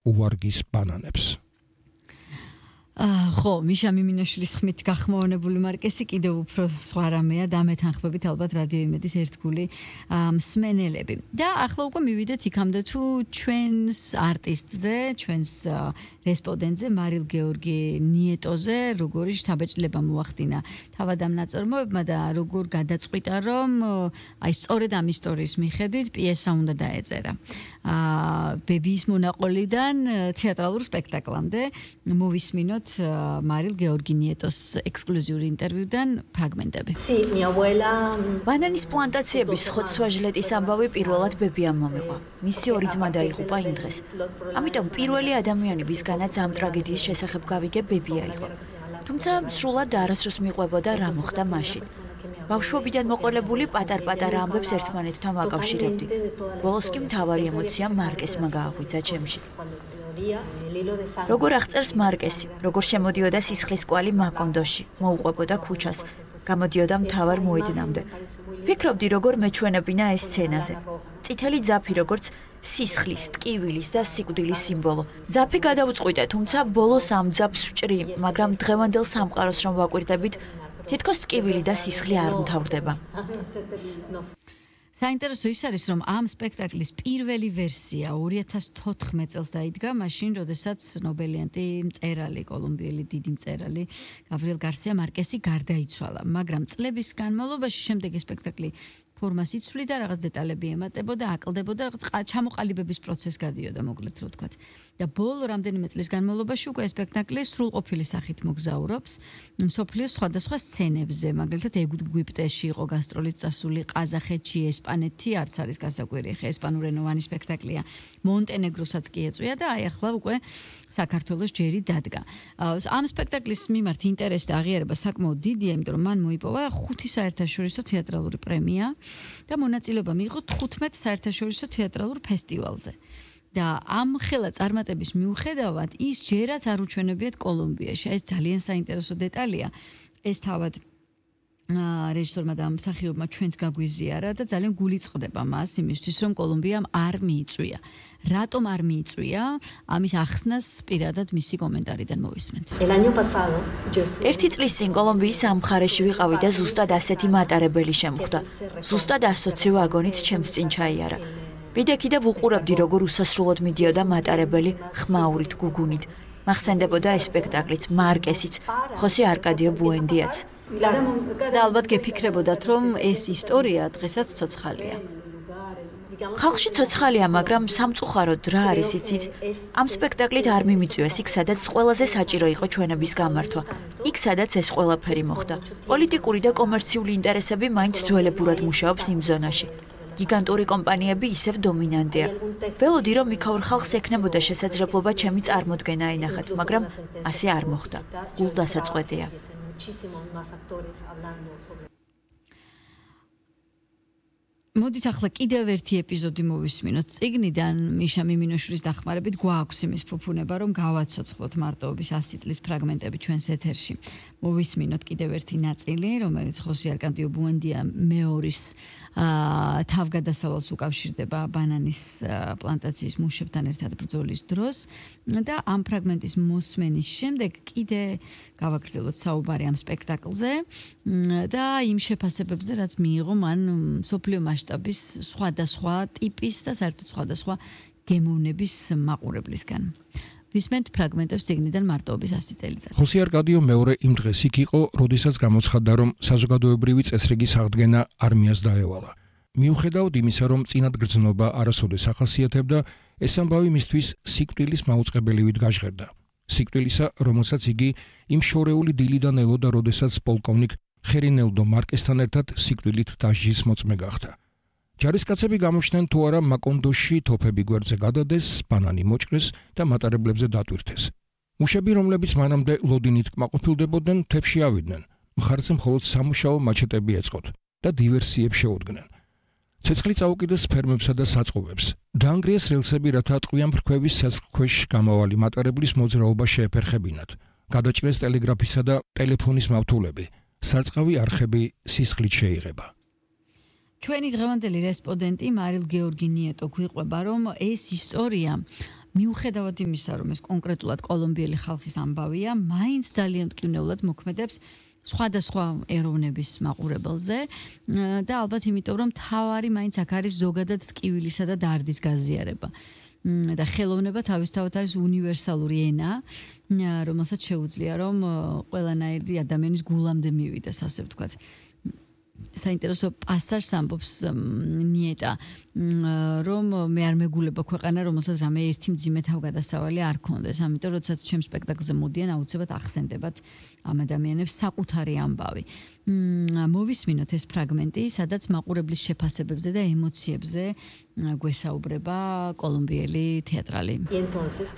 უვარგის ბანანებს. ხო, მიშა მიმინაშვილის ხმით გახმოვანებული მარკესი კიდევ უფრო სხვა რამეა, დამეთანხმებით ალბათ რადიო იმედის ერთგული მსმენელები. და ახლა უკვე მივიდეთ იქამდე თუ ჩვენს არტისტზე, ჩვენს რესპონდენტზე, მარილ გეორგი ნიეტოზე, როგორი შთაბეჭდილება მოახდინა თავად ამ ნაწარმოებმა და როგორ გადაწყვიტა, რომ აი სწორედ ამ ისტორიის მიხედვით პიესა უნდა დაეწერა. ბებიის მონაყოლიდან თეატრალურ სპექტაკლამდე მოვისმინოთ მარილ გეორგი ნიეტოს ექსკლუზიური ინტერვიუდან ფრაგმენტები. ბანანის პლანტაციების ხოცვა-ჟლეტის ამბავი პირველად ბებიამ მომიყვა. მისი ორი ძმა დაიღუპა იმ დღეს. ამიტომ პირველი ადამიანი, ვისგანაც ამ ტრაგედიის შესახებ გავიგე, ბებია იყო. თუმცა სრულად არასდროს მიყვებოდა რა მოხდა მაშინ. ბავშვობიდან მოყოლებული პატარ-პატარა ამბებს ერთმანეთთან ვაკავშირებდი. ბოლოს კი მთავარი ემოცია მარკესმა გააღვიძა ჩემში. როგორ აღწერს მარკესი, როგორ შემოდიოდა სისხლის კვალი მაკონდოში, მოუყვებოდა ქუჩას, გამოდიოდა მთავარ მოედნამდე. ფიქრობდი, როგორ მეჩვენებინა ეს სცენაზე. წითელი ძაფი როგორც სისხლის, ტკივილის და სიკვდილის სიმბოლო. ძაფი გადავწყვიტე, თუმცა ბოლოს ამ ძაფს ვჭრი, მაგრამ დღევანდელ სამყაროს რომ ვაკვირდებით, თითქოს ტკივილი და სისხლი არ მთავრდება. საინტერესო ის არის, რომ ამ სპექტაკლის პირველი ვერსია 2014 წელს დაიდგა, მაშინ, როდესაც ნობელიანტი მწერალი, კოლუმბიელი დიდი მწერალი გაბრიელ გარსია მარკესი გარდაიცვალა, მაგრამ წლების განმავლობაში შემდეგ სპექტაკლი ფორმას იცვლიდა, რაღაც დეტალები ემატებოდა, აკლდებოდა, რაღაც ჩამოყალიბების პროცესს გადიოდა, მოკლედ რო ვთქვათ. და ბოლო რამდენიმე წლის განმავლობაში უკვე სპექტაკლი სრულყოფილი სახით მოგზაურობს მსოფლიოს სხვადასხვა სცენებზე, მაგალითად ეგვიპტეში იყო გასტროლით წასული, ყაზახეთში, ესპანეთი, არც არის გასაკვირი, ხა ესპანურენოვანი სპექტაკლია, მონტენეგროსაც კი ეწვია და აი ახლა უკვე საქართველოს ჯერი დადგა. ამ სპექტაკლის მიმართ ინტერესი და აღიარება საკმაოდ დიდია, იმიტომ რომ მან მოიპოვა 5 საერთაშორისო თეატრალური პრემია და მონაწილეობა მიიღო 15 საერთაშორისო თეატრალურ ფესტივალზე. და ამ ხელა წარმატების მიუხედავად ის ჯერაც არ უჩვენებიათ კოლუმბიაში. ეს ძალიან საინტერესო დეტალია. ეს თავად რეჟისორმა და მსახიობმა ჩვენც გაგვიზიარა და ძალიან გული წყდება მას იმისთვის, რომ კოლუმბიამ არ მიიწვია. რატომ არ მიიწვია? ამის ახსნას პირადად მისი კომენტარიდან მოვისმენთ. ერთი წლის წინ კოლუმბიის ამ მხარეში ვიყავი და ზუსტად ასეთი მატარებელი შემხვდა. ზუსტად ასოცი ვაგონით ჩემს წინ ჩაიარა. ვიდექი და ვუყურებდი, როგორ უსასრულოდ მიდიოდა მატარებელი ხმაურით, გუგუნით. მახსენდებოდა ეს სპექტაკლიც, მარკესიც, ხოსე არკადიო ბუენდიაც. და ალბათ გეფიქრებოდათ, რომ ეს ისტორია დღესაც ცოცხალია. ხალხში ცოცხალია, მაგრამ სამწუხაროდ რა არის იცით? ამ სპექტაკლით არ მიმიწვიეს იქ, სადაც ყველაზე საჭირო იყო ჩვენების გამართვა. იქ, სადაც ეს ყველაფერი მოხდა. პოლიტიკური და კომერციული ინტერესები მაინც ძველებურად მუშაობს იმ ზონაში. გიგანტური კომპანიები ისევ დომინანტია. ველოდი, რომ იქაურ ხალხს ექნებოდა შესაძლებლობა ჩემი წარმოდგენა აინახათ, მაგრამ ასე არ მოხდა. გულდასაწყვეტია. მოდით ახლა კიდევ ერთი ეპიზოდი მოვისმინოთ წიგნიდან, მიშა მიმინაშვილის დახმარებით გვაქვს იმის ფუფუნება, რომ გავაცოცხლოთ მარტოობის 100 წლის ფრაგმენტები ჩვენს ეთერში. მოვისმინოთ კიდევ ერთი ნაწილი, რომელიც ხოსე არკადიო ბუენდია მეორის თავგადასავალს უკავშირდება ბანანის პლანტაციის მუშებთან ერთად ბრძოლის დროს და ამ ფრაგმენტის მოსმენის შემდეგ კიდე გავაგრძელოთ საუბარი ამ სპექტაკლზე და იმ შეფასებებზე, რაც მიიღო მან მსოფლიო მასშტაბის სხვადასხვა ტიპის და საერთოდ სხვადასხვა გემოვნების მაყურებლისგან. ვისმენთ ფრაგმენტებს წიგნიდან მარტოობის 100 წელიწადი. ხოსე არკადიო მეორე იმ დღეს იქ იყო, როდესაც გამოცხადდა, რომ საზოგადოებრივი წესრიგის აღდგენა არმიას დაევალა. მიუხედავად იმისა, რომ წინადგრძნობა არასოდეს ახასიათებდა, ეს ამბავი მისთვის სიკვდილის მაუწყებელივით გაჟღერდა. სიკვდილისა, რომელსაც იგი იმ შორეული დილიდან ელოდა, როდესაც პოლკოვნიკ ხერინელდო მარკესთან ერთად სიკვდილით დასჯის მოწმე გახდა. ჯარისკაცები გამოჩნდნენ თუ არა მაკონდოში თოფები გვერდზე გადადეს, ბანანი მოჭრეს და მატარებლებზე დატვირთეს. მუშები, რომლებიც მანამდე ლოდინით კმაყოფილდებოდნენ, თებში ავიდნენ. მხარზე მხოლოდ სამუშაო მაჩეტები ეწყოთ და დივერსიებს შეუდგნენ. ცეცხლი წაუკიდეს ფერმებსა და საწყობებს. დაანგრიეს რელსები, რათა ტყვიან ფრქვევის ცეცხლქვეშ გამავალი მატარებლის მოძრაობა შეეფერხებინათ. გადაჭრეს ტელეგრაფისა და ტელეფონის მავთულები. სარწყავი არხები სისხლით შეიღება. ჩვენი დღევანდელი რესპონდენტი მარილ გეორგი ნიეტო გვიყვება, რომ ეს ისტორია მიუხედავად იმისა, რომ ეს კონკრეტულად კოლუმბიელი ხალხის ამბავია, მაინც ძალიან მტკივნეულად მოქმედებს სხვადასხვა ეროვნების მაყურებელზე და ალბათ იმიტომ, რომ თავარი მაინც აქ არის ზოგადად ტკივილისა და დარდის გაზიარება. და ხელოვნება თავისთავად არის უნივერსალური ენა, რომელსაც შეუძლია რომ ყველანაირი ადამიანის გულამდე მივიდეს, ასე ვთქვათ. საინტერესო პასაჟს ამბობს ნიეტა, რომ მე არ მეგულება ქვეყანა, რომელსაც რამე ერთი მძიმე თავგადასავალი არ ქონდეს. ამიტომ, როდესაც ჩემ სპექტაკლზე მოდიან, აუცილებლად ახსენდებათ ამ ადამიანებს საკუთარი ამბავი. მოვისმინოთ ეს ფრაგმენტი, სადაც მაყურებლის შეფასებებზე და ემოციებზე გვესაუბრება კოლუმბიელი თეატრალი.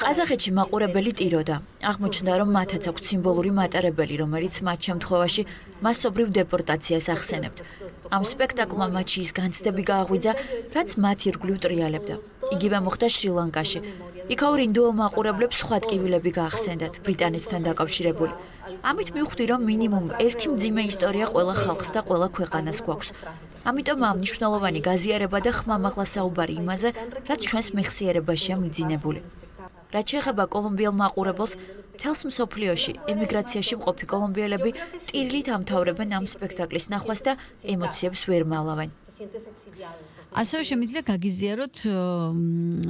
ყაზახეთში მაყურებელი ტიროდა. აღმოჩნდა, რომ მათაც აქვს სიმბოლური მატარებელი, რომელიც მათ შემთხვევაში მასობრივ დეპორტაციას ახსენებთ. ამ სპექტაკლმა მათში ის განცდები გააღვიძა, რაც მათ ირგვლივ ტრიალებდა. იგივე მოხდა შრი-ლანკაში. იქაურ ინდუელ მაყურებლებს სხვა ტკივილები გაახსენდათ, ბრიტანეთთან დაკავშირებული. ამით მივხვდი, რომ მინიმუმ ერთი მძიმე ისტორია ყველა ხალხს და ყველა ქვეყანას გვაქვს. ამიტომ ამ მნიშვნელოვანი გაზიარება და ხმამაღლა საუბარი იმაზე, რაც ჩვენს მეხსიერებაშია მიძინებული. რაც შეეხება კოლუმბიელ მაყურებელს, მთელს მსოფლიოში ემიგრაციაში მყოფი კოლუმბიელები ტირილით ამთავრებენ ამ სპექტაკლის ნახვას და ემოციებს ვერ მალავენ. ასევე შემიძლია გაგიზიაროთ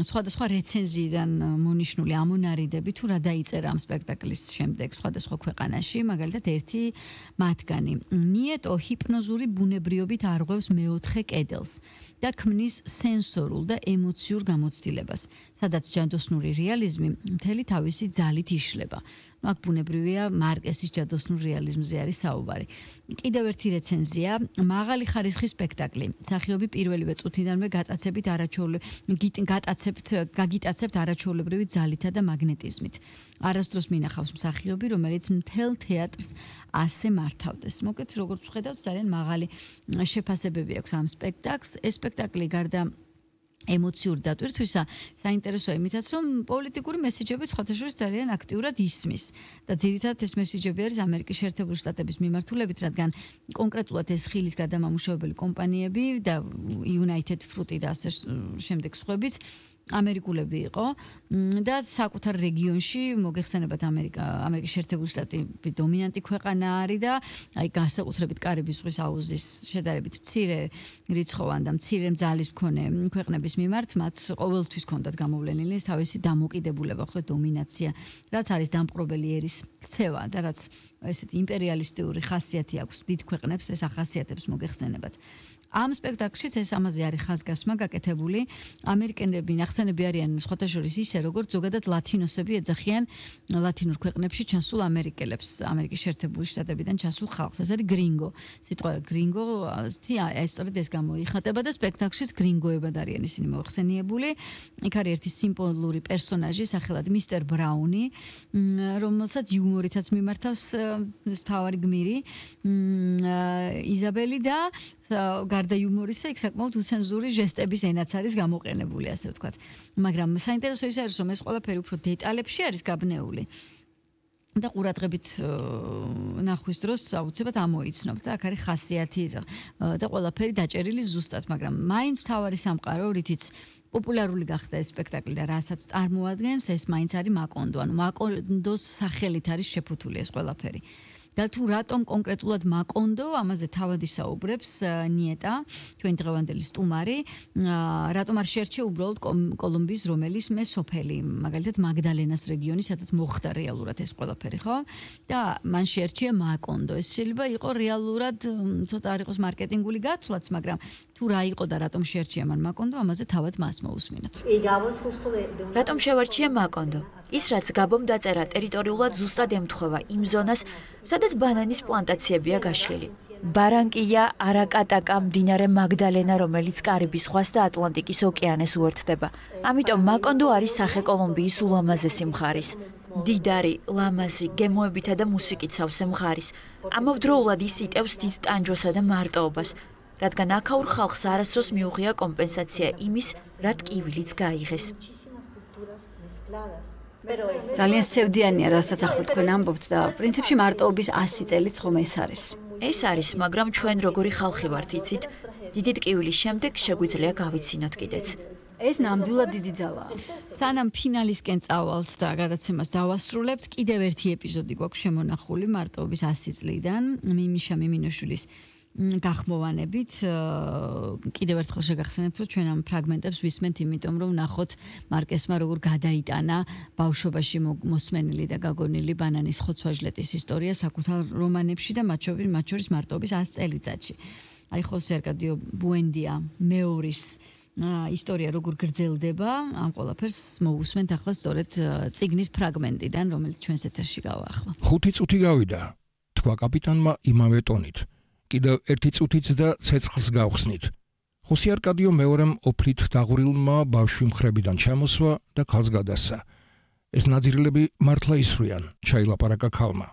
სხვადასხვა რეცენზიიდან მონიშნული ამონარიდები თუ რა დაიწერა ამ სპექტაკლის შემდეგ სხვადასხვა ქვეყანაში, მაგალითად ერთი მათგანი. ნიეტო ჰიპნოზური ბუნებრიობით არღვევს მეოთხე კედელს და ქმნის სენსორულ და ემოციურ გამოცდილებას, სადაც ჯადოსნური რეალიზმი მთელი თავისი ძალით იშლება. აქ ბუნებრივია მარკესის ჯადოსნურ რეალიზმზე არის საუბარი. კიდევ ერთი რეცენზია, მაღალი ხარისხის სპექტაკლი. მსახიობი პირველივე წუთიდანვე გაგიტაცებთ არაჩვეულებრივი ძალითა და მაგნეტიზმით. არასდროს მინახავს მსახიობი, რომელიც მთელ თეატრს ასე მართავდეს. მოკლედ, როგორც ვხედავთ, ძალიან მაღალი შეფასებები აქვს ამ სპექტაკლს. ეს სპექტაკლი გარდა ემოციური დატვირთვისა, საინტერესოა იმითაც, რომ პოლიტიკური მესიჯები სხვათაშორის ძალიან აქტიურად ისმის და ძირითადად ეს მესიჯები არის ამერიკის შეერთებული შტატების მიმართულებით, რადგან კონკრეტულად ეს ხილის გადამამუშავებელი კომპანიები და United Fruit და ასე შემდეგ სხვაებიც ამერიკულები იყო და საკუთარ რეგიონში მოგეხსენებათ ამერიკის შეერთებული შტატები დომინანტი ქვეყანა არის და აი განსაკუთრებით კარიბის ზღვის აუზის შედარებით მცირე რიცხოვან და მცირე ძალის მქონე ქვეყნების მიმართ მათ ყოველთვის ჰქონდათ გამოვლენილი თავისი დამოკიდებულება, ხო, დომინაცია, რაც არის დამპყრობელი ერის ქცევა და რაც ესეთი იმპერიალისტური ხასიათი აქვს დიდ ქვეყნებს, ეს ახასიათებს მოგეხსენებათ. ამ სპექტაკლშიც ეს ამაზე არის ხაზგასმა გაკეთებული. ამერიკელები ნახსენები არიან სხვათაშორის ისე, როგორც ზოგადად ლათინოსები ეძახიან ლათინურ ქვეყნებში ჩასულ ამერიკელებს, ამერიკის შეერთებული შტატებიდან ჩასულ ხალხს. ეს არის გრინგო. სიტყვა გრინგო, სწორედ ეს გამოიხატება და სპექტაკლშიც გრინგოებად არიან ისინი მოხსენიებული. იქ არის ერთი სიმბოლური პერსონაჟი, სახელად მისტერ ბრაუნი, რომელსაც იუმორითაც მიმართავს თავარი გმირი იზაბელი და გარდა იუმორისა, იქ საკმაოდ უცენზური ჟესტების ენაც არის გამოყენებული, ასე ვთქვათ. მაგრამ საინტერესო ის არის, რომ ეს ყველაფერი უფრო დეტალებში არის გაბნეული. და ყურადღებით ნახვის დროს აუცილებლად ამოიცნობთ და აქ არის ხასიათი და ყველაფერი დაჭერილი ზუსტად, მაგრამ მაინც თავარი სამყარო, რითიც პოპულარული გახდა ეს სპექტაკლი და რასაც წარმოადგენს, ეს მაინც არის მაკონდო, ანუ მაკონდოს სახელით არის შეფუთული ეს ყველაფერი. და თუ რატომ კონკრეტულად მაკონდო, ამაზე თავად ისაუბრებს ნიეტა, ჩვენი დღევანდელი სტუმარი, რატომ არ შეერჩია უბრალოდ კოლუმბიის რომელიმე სოფელი, მაგალითად მაგდალენას რეგიონი, სადაც მოხდა რეალურად ეს ყველაფერი, ხო? და მან შეერჩია მაკონდო. ეს შეიძლება იყო რეალურად ცოტა არ იყოს მარკეტინგული გათვლაც, მაგრამ თუ რა იყო და რატომ შეერჩია მან მაკონდო, ამაზე თავად მას მოусმინოთ. რატომ შევარჩია მაკონდო? ის რაც გაბომ დაწერა ტერიტორიულად ზუსტად ემთხვევა იმ ზონას, სადაც ბანანის პლანტაციებია გაშლილი. ბარანკია, არაკატაკა, მდინარე მაგდალენა, რომელიც კარიბის ზღვას და ატლანტიკის ოკეანეს უერთდება. ამიტომ მაკონდო არის სახე კოლუმბიის ულამაზესი მხარის. დიდარი, ლამაზი, გემოებითა და მუსიკით სავსე მხარის. ამავდროულად ის იტევს დიდ ტანჯვასა და მარტოობას, რადგან აქაურ ხალხს არასდროს მიუღია კომპენსაცია იმის, რა ტკივილიც გაიღეს. ძალიან სევდიანია, რასაც ახლა თქვენ ამბობთ და პრინციპში მარტოობის 100 წელიც ხომ ეს არის. ეს არის, მაგრამ ჩვენ როგორი ხალხი ვართ, იცით? დიდი ტკივილის შემდეგ შეგვიძლია გავიცინოთ კიდეც. ეს ნამდვილად დიდი ძალაა. სანამ ფინალისკენ წავალთ და გადაცემას დავასრულებთ, კიდევ ერთი ეპიზოდი გვაქვს შემონახული მარტოობის 100 წლიდან, მიმიშა მიმინოშვილის გახმოვანებით. კიდევ ერთხელ შეგახსენებთ, რომ ჩვენ ამ ფრაგმენტებს ვისმენთ, იმიტომ რომ ნახოთ მარკესმა როგორ გადაიტანა ბავშვობაში მოსმენილი და გაგონილი ბანანის ხოცვა-ჟლეტის ისტორია საკუთარ რომანებში და მათ შორის მარტოობის 100 წელიწადში. აი ხოსე არკადიო ბუენდია მეორის ისტორია როგორ გრძელდება, ამ ყველაფერს მოусმენთ ახლა სწორედ წიგნის ფრაგმენტიდან, რომელიც ჩვენს ეთერში გავა ახლა. 5 წუთი გავიდა, თქვა კაპიტანმა იმავე ტონით. კიდევ 1 წუთიც და ცეცხლს გავხსნით. ხოსე არკადიო მეორემ ოფლით დაღვრილმა ბავშვი მხრებიდან ჩამოსვა და ქალს გადასცა. ეს ნაძირილები მართლა ისვრიან, ჩაილაპარაკა ქალმა.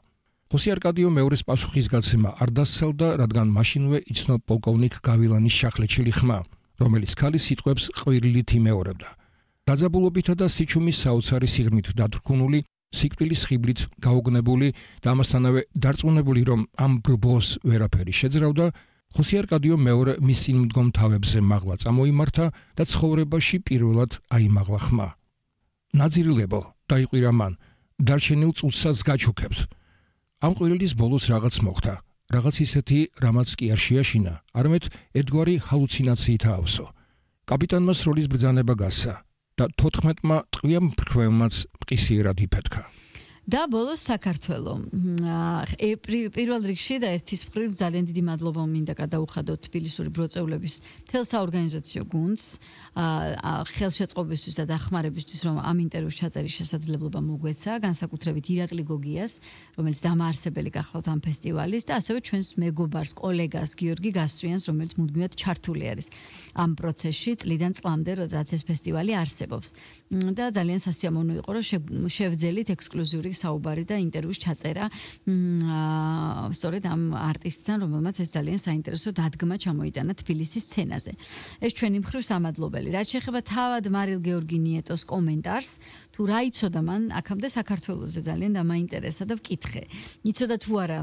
ხოსე არკადიო მეორის პასუხისგაცემა არ დასცელდა, რადგან მაშინვე იცნო პოლკოვნიკ გავილანის შახლეჩილი ხმა, რომელიც ქალის სიტყვებს ყვირილით იმეორებდა. დაძაბულობითა და სიჩუმის საოცარი სიღრმით დათრქუნული, სიკვდილის ხიბლით გაუგნებული და ამასთანავე დარწმუნებული, რომ ამ ბრბოს ვერაფერი შეძრავდა, ხოსე არკადიო მეორე მის წინ მდგომ თავებზე მაღლა წამოიმართა და ცხოვრებაში პირველად აიმაღლა ხმა. ნაძირილებო, დაიყვირა მან, დარჩენილ წუთსაც გაჩუქებთ. ამ ყვირილის ბოლოს რაღაც მოხდა. რაღაც ისეთი, რამაც კი არ შეაშინა, არამედ ერთგვარი ჰალუცინაციით აავსო. კაპიტანმა სროლის ბრძანება გასცა და 14-მა ტყვია მფრქვევმაც მყისიერად იფეთქა. და ბოლოს საქართველო. პირველ რიგში და ერთის მხრივ ძალიან დიდი მადლობა მინდა გადაუხადოთ თბილისური ბროწეულების მთელ საორგანიზაციო გუნდს, ხელშეწყობისთვის და დახმარებისთვის, რომ ამ ინტერვიუს ჩაწერის შესაძლებლობა მოგვეცა, განსაკუთრებით ირაკლი გოგიას, რომელიც დამაარსებელი გახლავთ ამ ფესტივალის და ასევე ჩვენს მეგობარს, კოლეგას გიორგი გასვიანს, რომელიც მუდმივად ჩართული არის ამ პროცესში წლიდან წლამდე, როდესაც ეს ფესტივალი არსებობს. და ძალიან სასიამოვნო იყო, რომ შევძელით ექსკლუზიური საუბარი და ინტერვიუს ჩაწერა სწორედ ამ არტისტთან, რომელმაც ეს ძალიან საინტერესო დადგმა ჩამოიტანა თბილისის სცენაზე. ეს ჩვენი მხრივ სამადლობელი. რაც შეეხება თავად მარილ გეორგი ნიეტოს კომენტარს, თუ რა იცოდა მან აქამდე საქართველოზე ძალიან დამაინტერესა და ვკითხე. იცოდა თუ არა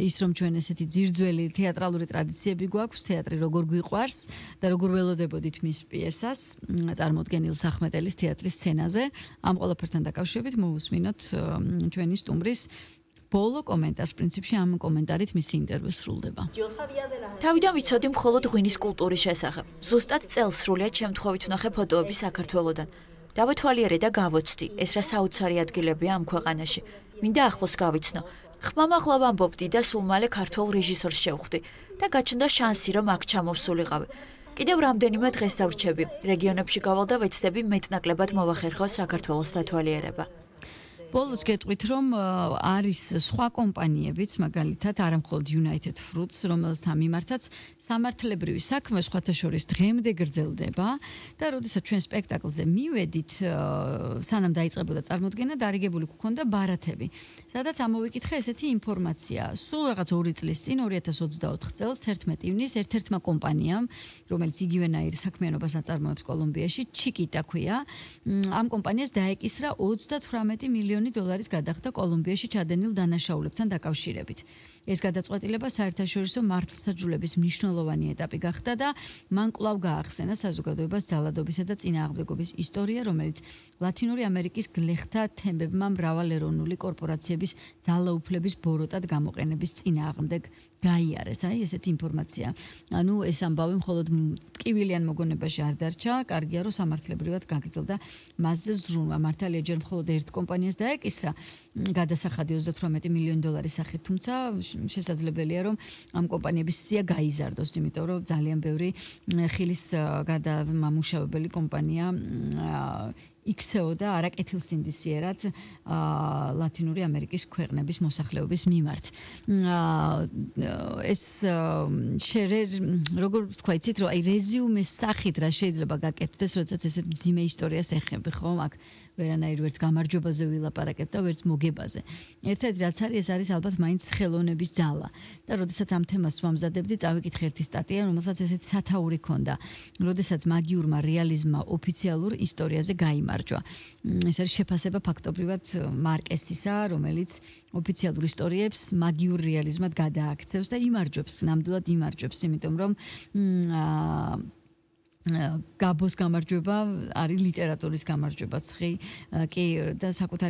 ის, რომ ჩვენ ესეთი ძირძველი თეატრალური ტრადიციები გვაქვს, თეატრი როგორ გვიყვარს და როგორ ველოდებოდით მის პიესას, წარმოდგენილ სახმეტელის თეატრის სცენაზე. ამ ყველაფერთან დაკავშირებით მოусმინოთ ჩვენი სტუმრის ბოლო კომენტარს, პრინციპში ამ კომენტარით მისი ინტერვიუ სრულდება. თავიდან ვიცოდი მხოლოდ ღვინის კულტურის შესახებ. ზუსტად წელს სრულიად შემთხვევით ვნახე ფოტოები საქართველოდან. დავეთვალიერე და გავოცდი, ეს რა საოცარი ადგილებია ამ ქვეყანაში. მინდა ახლოს გავიცნო. ხმამაღლა ვამბობდი და სულ მალე ქართულ რეჟისორს შევხვდი და გაჩნდა შანსი, რომ აქ ჩამოვსულიყავი. კიდევ რამდენიმე დღეს დავრჩები. რეგიონებში გავალ და ვეცდები მეტნაკლებად მოვახერხო საქართველოს დათვალიერება. ბოლოს გეტყვით, რომ არის სხვა კომპანიებიც, მაგალითად, არამხოლოდ United Fruits, რომელთა მიმართაც სამართლებრივი საქმე სხვათა შორის დღემდე გრძელდება და როდესაც ჩვენ სპექტაკლზე მივედით, სანამ დაიწყებოდა წარმოდგენა, დარიგებული გვქონდა ბარათები. სადაც ამოვიკითხე ესეთი ინფორმაცია. სულ რაღაც 2 წლის წინ, 2024 წელს 11 ივნის ერთ-ერთმა კომპანიამ, რომელიც იგივენაირ საქმიანობას აწარმოებს კოლუმბიაში, ჩიკიტა ქვია, ამ კომპანიას დაეკისრა 38 მილიონი $-ის გადახდა კოლუმბიაში ჩადენილ დანაშაულებთან დაკავშირებით. ეს გადაწყვეტილება საერთაშორისო მართლმსაჯულების მნიშვნელოვანი ეტაპი გახდა და მან კვლავ გაახსენა საზოგადოებას ძალადობისა და წინააღმდეგობის ისტორია, რომელიც ლათინური ამერიკის გლეხთა თემებმა მრავალეროვნული კორპორაციების ძალაუფლების ბოროტად გამოყენების წინააღმდეგ გაიარეს. აი ესეთი ინფორმაცია. ანუ ეს ამბავი მხოლოდ ტკივილიან მოგონებაში არ დარჩა, კარგია რომ სამართლებრივად გაგრძელდა მასზე ზრუნვა. მართალია ჯერ მხოლოდ ერთ კომპანიას დაეკისრა გადასახადი 38 მილიონი $-ის სახით, თუმცა შესაძლებელია რომ ამ კომპანიების სია გაიზარდოს, იმიტომ რომ ძალიან ბევრი ხილის გადამამუშავებელი კომპანია იქცეოდა არაკეთილსინდისიერად ლათინური ამერიკის ქვეყნების მოსახლეობის მიმართ. ეს როგორ თქვა, იცით, რომ აი რეზიუმეს სახით რა შეიძლება გაკეთდეს, როდესაც ესეთ მძიმე ისტორიას ეხები, ხო? აქ ვერანაირ ვერც გამარჯვებაზე ვილაპარაკებ და ვერც მოგებაზე. ერთად რაც არის, ეს არის ალბათ მაინც ხელოვნების ძალა. და როდესაც ამ თემას ვამზადებდი, წავიკითხე ერთი სტატია, რომელსაც ესეთი სათაური ჰქონდა, როდესაც მაგიურმა რეალიზმმა ოფიციალურ ისტორიაზე გაიმარჯვა. ეს არის შეფასება ფაქტობრივად მარკესისა, რომელიც ოფიციალურ ისტორიებს მაგიურ რეალიზმად გადააქცევს და იმარჯვებს, ნამდვილად იმარჯვებს, იმიტომ რომ გაბოს გამარჯვება არის ლიტერატურის გამარჯვებაც კი და საკუთარი